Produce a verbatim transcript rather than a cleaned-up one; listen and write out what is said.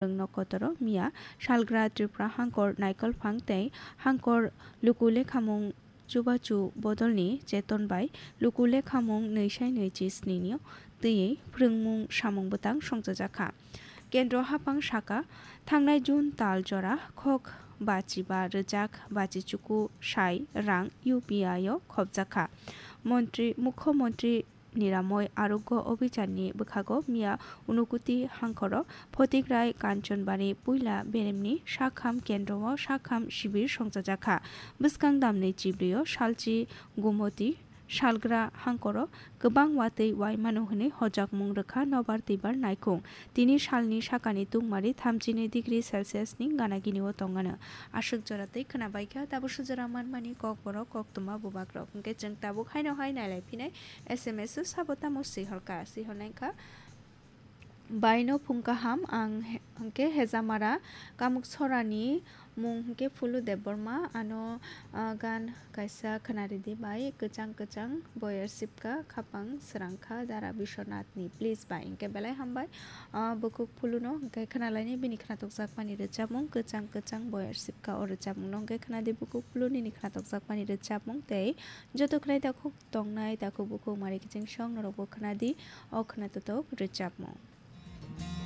Rwngno kotoro miya salgra Tripura hangkor naikolphang tei hangkor luku lekhamung chubachu bodolni cheton bai luku lekhamung nwi sai nwi chi sni ni twiwi phwrwngmung samung bwtang songchajakha. Kendro haphang saka, thangnai June tal jora khok bachi ba rwjak bachi chuku sai rang U P I o khopjakha. Montri, Mukho Montri Niramoi Arogyo Obhijanni bwkhago miya Unakoti hangkoro Photikrai Kanchanbari puila beremni sakham kendro o sakham sibir songchajakha. Bwskang damni chibrwi o salchi Gomoti salgra hangkoro kwbang watwi uaimano hwnwi hojakmung rwkha nobar twibar naikhung. Tini salni sakani tungmari thamchini degree Celsius ni ganagini o tongano. Aswk jora twi khwnabaikha, tabuk sujora manmani kokborok koktwma bubagrok. Hwnkhe chwng tabuk haino hai nailaiphinai. S M S o sabo tamo swiholka, swiholnaikha. Baino phung kaham ang he-, hwnkhe Hejamara Kamuksorani mung hwnkhe Phulu Debbarma, ano, ah, gan kaisa khwnaridi bai kwchang kwchang boyar sipka khapang srangkha Dara Biswanathni. Please bai, hwnkhe belai hambai, ah, bukhuk Phuluno hwnkhe khwnalaini bini khwnatokjakmani rwchapmung kwchang kwchang boyar sipka o rwchapmungno hwnkhe khwnadi bukhuk Phulu nini khwnatokjakmani rwchapmung tei joto khwnai takhuk tongnai takhuk bukhuk mari kiching song norokbo khwnadi o khwnatotok rwchapmung.